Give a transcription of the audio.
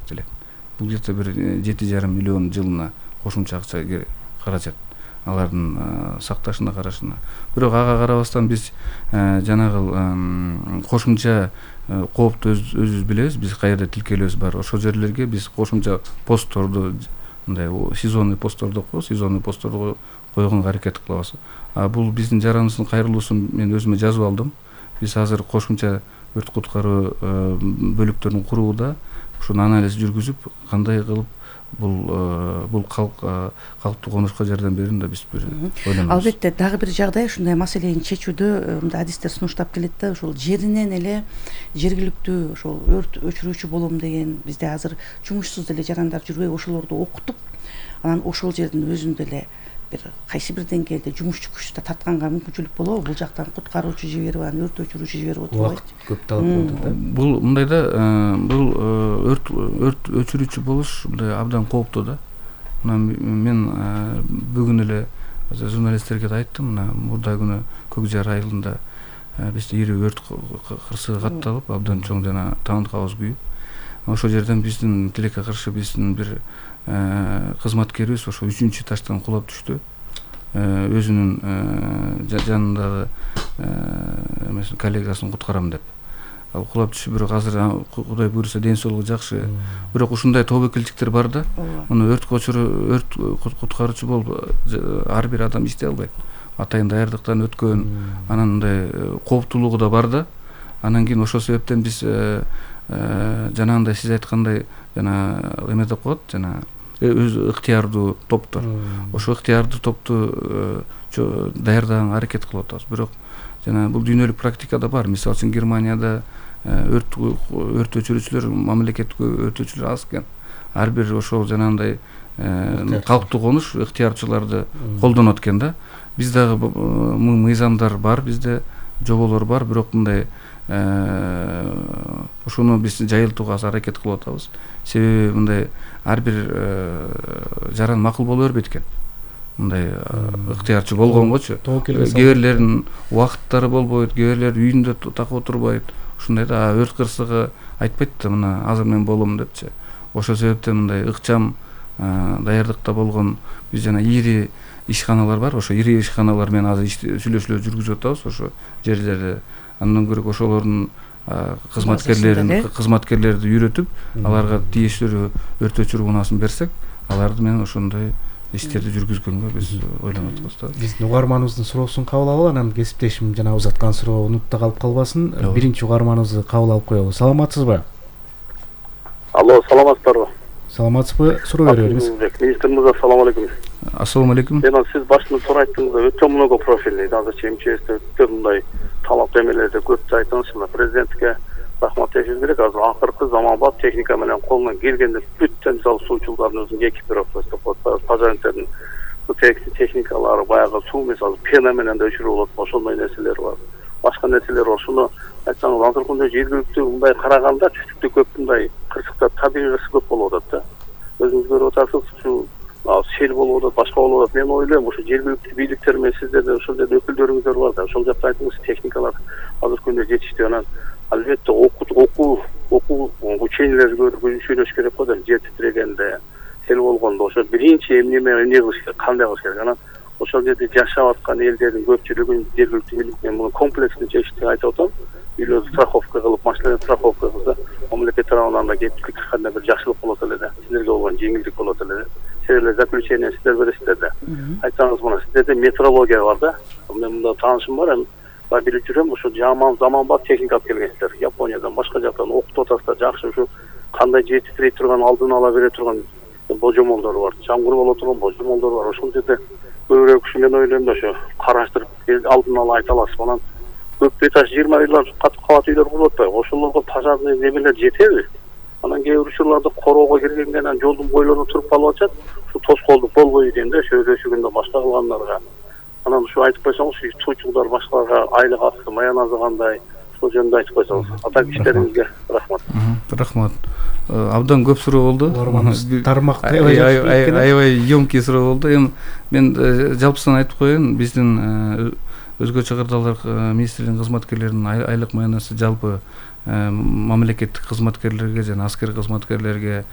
эсептелет. Бул где-то бир 7,5 миллион жылына кошумча акча каражат алардын сакташына карашына. Бирок ага карабастан биз жанагы кошумча коопту өзүбүз билебиз, биз каерде тилкелебиз бар. Ошол жерлерге биз кошумча постторду, мындай сезонный посттор деп коебуз, сезонный постторду койгонго аракет кылабыз. Бул биздин жараныбыздын кайрылуусун мен өзүмө жазып алдым. Биз азыр кошумча өрт куткаруу бөлүктөрүн курууда ушуну анализ жүргүзүп, кандай кылып бул калктуу конушка жардам берүүнү да биз бир ойлонобуз. Албетте, дагы бир жагдай ушундай маселени чечүүдө мындай адистер сунуштап келет да, ушул жеринен эле жергиликтүү ошол өрт өчүрүүчү болом деген бизде азыр жумушсуз деле жарандар жүрбөйбү, ошолорду окутуп, анан ошол жердин өзүндө эле бир кайсы бир деңгээлде жумушчу күчтү тартканга мүмкүнчүлүк болобу? Бул жактан куткаруучу жиберип, анан өрт өчүрүүчү жиберип отурбайбы? Убакыт көп талап болот да. Бул мындай да, бул өрт өчүрүүчү болуш мындай абдан кооптуу да. Мен бүгүн эле журналисттерге да айттым, мына мурда күнү Көк Жар айылында бизде ири өрт кырсыгы катталып, абдан чоң жана таандык абыз күйүп, ошол жерден биздин тилекке каршы биздин бир кызматкерибиз ошо 3-чү таштан кулап түштү. Өзүнүн жанындагы коллегасын куткарам деп. Ал кулап түшүп, бирок азыр Кудай буйруса ден соолугу жакшы. Бирок ушундай тобокелчиктер бар да. Муну өрт куткаруучу болуп ар бир адам иштей албайт. Атайын даярдыктан өткөн, анан мындай кооптуулугу да бар да. Анан кийин ошол себептен биз жанагындай сиз айткандай жана эме деп коет, жана өз ыктыярдуу топтор. Ошо ыктыярдуу топту даярдаганга аракет кылып атабыз. Бирок жана бул дүйнөлүк практикада бар. Мисалы үчүн Германияда өрт өчүрүүчүлөр, мамлекеттик өрт өчүрүүчүлөр аз экен. Ар бир ошол жанагындай калктуу конуш ыктыярчыларды колдонот экен да. Биз дагы мыйзамдар бар, бизде жоболор бар, бирок мындай ошону биз жайылтууга аракет кылып атабыз. Себеби мындай ар бир жаран макул боло бербейт экен. Мындай ыктыярчы болгонгочу. Кээ бирлеринин убакыттары болбойт, кээ бирлер үйүндө так отурбайт. Ушундай да өрт кырсыгы айтпайт да, мына азыр мен болом депчи. Ошол себептен мындай ыкчам даярдыкта болгон биз жана ири ишканалар бар. Ошо ири ишканалар менен азыр сүйлөшүүлөр жүргүзүп атабыз ошо жерлерде. Андан көрө ошолордун кызматкерлерди үйрөтүп, аларга тиешелүү өрт өчүрүү унаасын берсек, аларды менен ошондой иштерди жүргүзгөнгө биз ойлонуп атабыз да. Биздин угарманыбыздын суроосун кабыл алып, анан кесиптешим жана узаткан суроо унутта калып калбасын. Биринчи угарманыбызды кабыл алып коелу. Саламатсызбы? Алло, саламатсыздарбы? Саламатсызбы? Суроо бериңиз. Министр мырза, assalomu alaykum. Assalomu alaykum. Сиз башында суроо айттыңыз, өтө много профильный, азырча МЧСте өтө мындай талап эмелерди көп айттыңыз. Президентке рахмат айтышыбыз керек. Азыр акыркы заманбап техника менен колунан келгенде бүттөн суучулардын өзүнүн экипировкасы, пожарниктердин техникалары, баягы суу мисалы пена менен да өчүрүп болот, ошондой нерселер бар. Башка нерселер бар. Ошону айтсаңыз, азыр күндө жергиликтүү мындай караганда түштүктө көп мындай кырсыктар, табигый кырсык көп болуп атат да. Өзүңүз көрүп атасыз, ушу сел болуп атат, башка болуп атат. Мен ойлойм, ушу жергиликтүү бийликтер менен сиздердин ошол жерде өкүлдөрүңүздөр бар да, ошол жакта айтыңыз, техникалар азыр күндө жетиштүү. Анан албетте окуу учениялер сүйлөш керек го да, жер титирегенде, сел болгондо ошо биринчи эмне кылыш керек, кандай кылыш керек. Анан ошол жерде жашап аткан элдердин көпчүлүгүн жергиликтүү бийлик менен муну комплекстүү чечишти айтып атам. Үйлөрдү страховка кылып, машиналарды страховка кылса, мамлекет тарабынан да кепилдик кандай бир жакшылык болот эле да. Силерге болгон жеңилдик болот эле да. Силер заключение сиздер бересиздер да. Айтсаңыз, мына сиздерде метрология бар да. Мен мында таанышым бар, билип жүрөм, ошо заманбап техника алып келгенсиздер. Япониядан, башка жактан окутуп атасыздар, жакшы ушу кандай жер титирей турган, алдын ала бере турган божомолдор бар. Чаңгыр боло турган божомолдор бар. Ошол жерде көбүрөөк ушу мен ойлойм да, ошо караштырып алдын ала айта аласыз. Анан көп этаж 20 үйлөр, кат үйлөр куруп атпайбы? Ошолорго пожарный немелер жетеби? Анан кээ бир учурларда короого киргенге анан жолдун бойлоруна туруп калып атышат. Ушу тоскоолдук болбойбу дейм да, өсүгүндө башка кылгандарга. Анан ушу айтып койсоңуз, суучулдар башкаларга айлык акысы, маяназы кандай, ошол жөнүндө айтып койсоңуз. Атак иштериңизге рахмат. Рахмат. Абдан көп суроо болду. Тармак аябай ёмкий суроо болду. Эми мен жалпысынан айтып коеюн, биздин өзгөчө кырдаалдар министрлигинин кызматкерлеринин айлык маянасы жалпы мамлекеттик кызматкерлерге жана аскер кызматкерлерге